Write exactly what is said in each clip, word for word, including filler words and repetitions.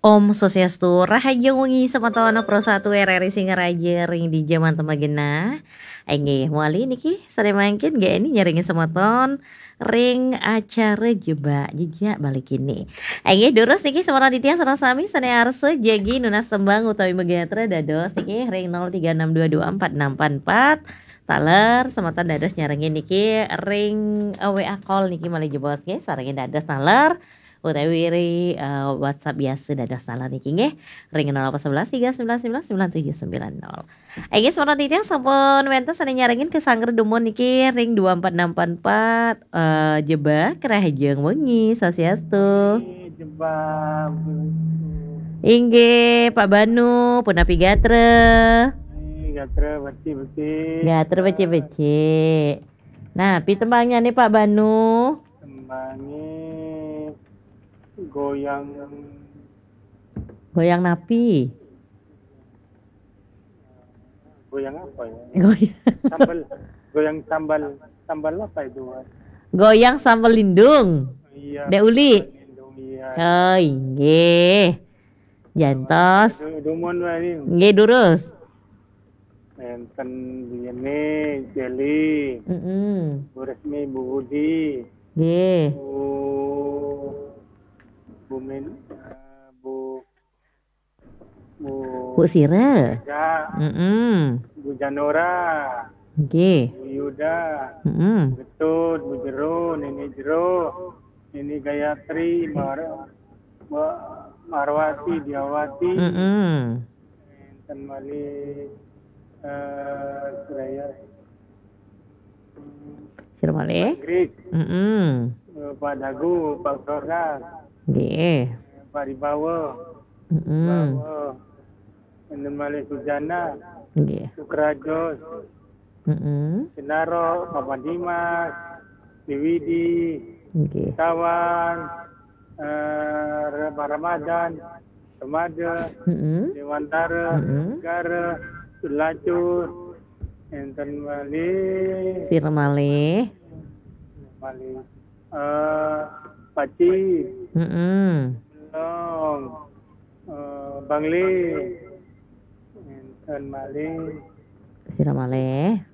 Om Swastiastu, rahajeng wengi semeton Pro satu R R I Singaraja ring dija manten magenah. Inggih, mawali niki sane mangkin nggih nyarengin semeton ring acara Jebak Jejak Bali kini. Inggih, durus niki semeton titiang sareng sami sane arsa jagi nunas tembang utawi magatra dados niki ring nol tiga enam dua dua empat enam empat empat. Taler semeton dados nyarengin niki ring, eh, W A call niki malih jebos nggih, sarengin dados taler utawi ring, eh, WhatsApp biasa dados taler niki nggih, ring nol delapan sebelas tiga sembilan sembilan sembilan tujuh sembilan nol. Inggih, semeton titiang sampun wenten sane nyarengin ke sanggra dumun niki ring dua empat enam empat empat, eh, Jebak, rahajeng wengi, Swastiastu. Jebak, Bu. Inggih, Pak Banu, punapi gatra? Eh, gatra becik-becik. Gatra becik-becik. Nah, pi tembangnya nih, Pak Banu? Tembangnya goyang. Goyang napi? Goyang apa ya? Goyang. Sambal, goyang sambal, sambal apa itu, Mas? Goyang sambal lindung. Iya. Dek Uli. Sambal lindung, iya. Oh, inggih. Jantos. Du-, dumun wae. Nggih, durus. Enten biyene Jeli. Mm-mm. Bu Resmi, Bu Budi. Nggih. Bu, Bu Min-, eh, Bu, Bu Bu Sira. Ega. Mm-mm. Bu Janora. Nggih. Bu Yuda. Mm-mm. Bu Getut, Bu Jero, Nini Jero, Nini Gayatri, Mar-, Ma-, Marwati, Diawati. Mm-mm. Enten malih, eh, Suraya. Sira malih? Inggris. Mm-mm. Eh, Pak Dagu, Pak Sorga. Nggih. Pak Ribawa. Mm-mm. Bawa. Enten malih Sujana. Nggih. Sukrajo. Mm-mm. Sinaro, Papa Dimas, Diwidi, nggih. Tawan, eh, Re-, Ramadan, Remaja, mm-mm. Dewantara, mm-mm. Negara, Sulacur, enten malih. Sira malih? Malih. Eh, Paci. Mm-mm. Belong. Eh, Bangli. Enten malih. Sira malih?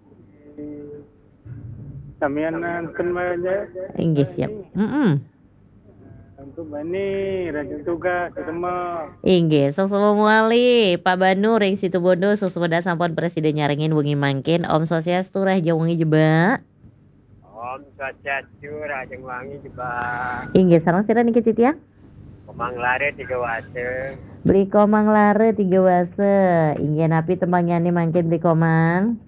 Samian enten malih. Inggih, siap. Mm-mm. Untuk bani, rajin tugas, ketemu. Inggih, suksma malih, Pak Banu ring Situbondo, suksma sampun prasida nyarengin wengi mangkin. Om Swastiastu, rahajeng wengi Jebak. Om Swastiastu, rahajeng wengi Jebak. Inggih, sareng sira niki titiang? Komang Lara Tiga Wasa. Beli Komang Lara Tiga Wasa. Inggih, napi tembangyane mangkin Beli Komang?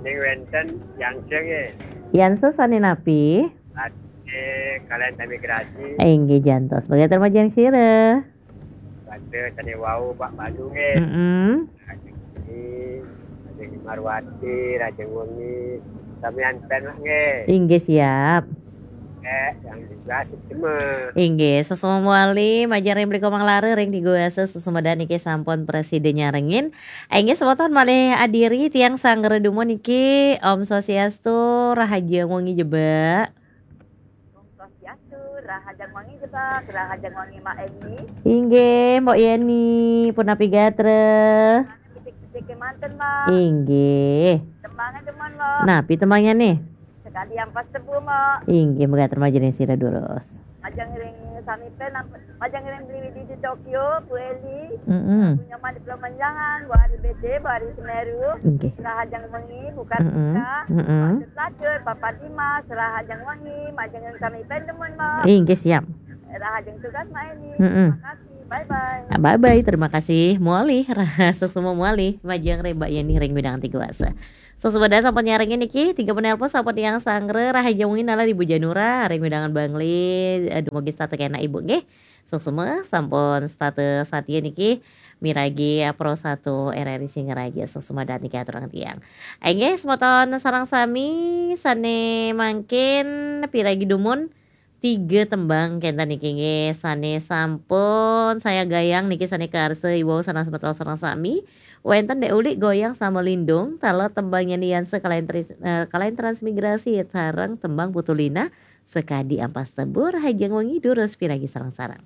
Ini wenten Yangse nggih. Yangse sane napi? Ade kalian sami grasi. Inggih, jantos. Mangga termajan sira. Pada sane wau Pak Banu nggih. Mm-mm. Rajeng wengi, rajeng Marwati, rajeng wengi. Samian pen nggih. Inggih, siap. Eh, yang juga semua. Inggih, suksma malih, majeng ring Beli Komang Lara ring Tiga Wasa, suksma niki sampun prasida nyarengin. Inggih, semeton malih adiri tiang sanggra dumun niki, Om Swastiastu, rahajeng wengi Jebak. Om Swastiastu, rahajeng wengi Jebak, rahajeng wengi Mak Eni. Inggih, Mbok Yeni, punapi gatra? Becik-becik manten, Mak. Inggih. Tembange demen, Mak. Napi tembange nih? Sekadi ampas tebu, Mak. Inggih, mangga termajan ring sira durus. Majeng ring sami pen, majeng ring Beli Widi di Tokyo, Bu Eli. Mm-mm. Bu Nyoman di Pulau Menjangan, Bu Ari B C, Bu Ari Semeru. Inggih. Rahajeng wengi, buka mm-mm. Buka. Mm-mm. Pak Lacur, Papa Dimas, rahajeng wengi, majeng ring sami pen demen, Mak. Inggih, siap. Rahajeng tugas, Mak Eni. Mm-mm. Terima kasih. Bye-bye. Ah, bye-bye. Terima kasih. Muali, suksma muali. Majeng ring Mbak Yeni ring Widang Tiga Wasa. Suksma sampun nyarengin niki, tiga penelpon sampun tiang sanggra, rahajeng wengi nala Ibu Janura, ring wewidangan Bangli, eh, dumugi setata kenak Ibu nggih. Suksma sampun setata satia niki, miragi Pro satu R R I Singaraja, suksma niki aturang tiang. Inggih, semeton sareng sami, sane mangkin piragi dumun, tiga tembang kenten niki nggih, sane sampun saya gayang niki sane karsa iwau sareng semeton sareng sami. Wenten Dek Uli goyang sama Lindung, taler tembang Yeni Yanse kalayan tris-, eh, kalayan transmigrasi sareng tembang Putulina, sekadi ampas tebu, rahajeng wengi durus piragi sareng-sareng.